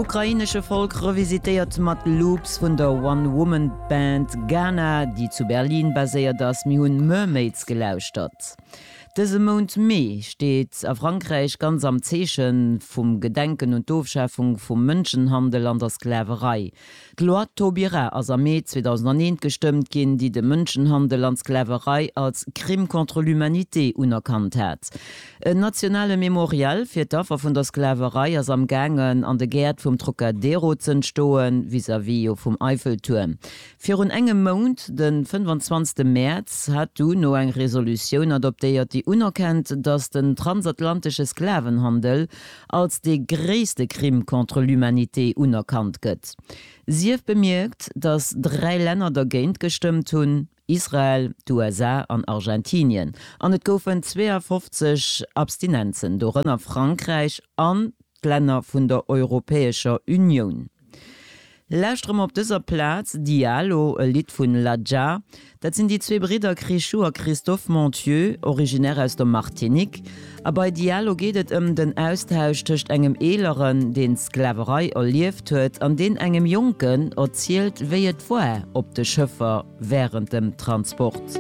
Ukrainesche Folk revisitéiert mat Loops vun der One Woman Band Ghana, déi zu Berlin baséiert ass. Mir hunn Mermaids gelauschtert. Dëse Mount Mee steet a Frankräich ganz am Zeeche vum Gedenken un d'Ofschafung vum Mënschenhandel an der Sklaverei. D'Loi Taubira ass am Mee 2001 gestëmmt ginn, déi de Mënschenhandel an d'Sklaverei als Crime contre l'humanité unerkannt hat. En nationale Memorial fir d'Affer vun der Sklaverei ass am gaangen an de Gäert vum Trocadero z'entstoen, vis-à-vis jo vum Eiffeltuerm. Virun engem Mount, de 25 Mäerz, hat d'UNO eng Resolutioun adoptéiert, déi unerkennt, datt den transatlantesche Sklavenhandel als dee gréisste Crime contre l'humanité unerkannt gëtt. Sief bemierkt, datt 3 Länner dergéint gestëmmt hunn, Israel, d'USA an Argentinien, an et goufen 52 Abstinenzen, dorënner Frankräich an d'Länner vun der Europäescher Unioun. Lauschtere mer op dëser Plaz Dialo, e Lidd vun Ladja. Dat sinn déi zwee Bridder Chrischou a Christophe Monthieu, originaire aus der Martinique. A bei Dialo geet et ëm den Austausch tëscht engem Eeleren, deen d'Sklaverei erlieft huet, an deen engem Jonken erzielt, wéi et war op de Schëffer wärend dem Transport.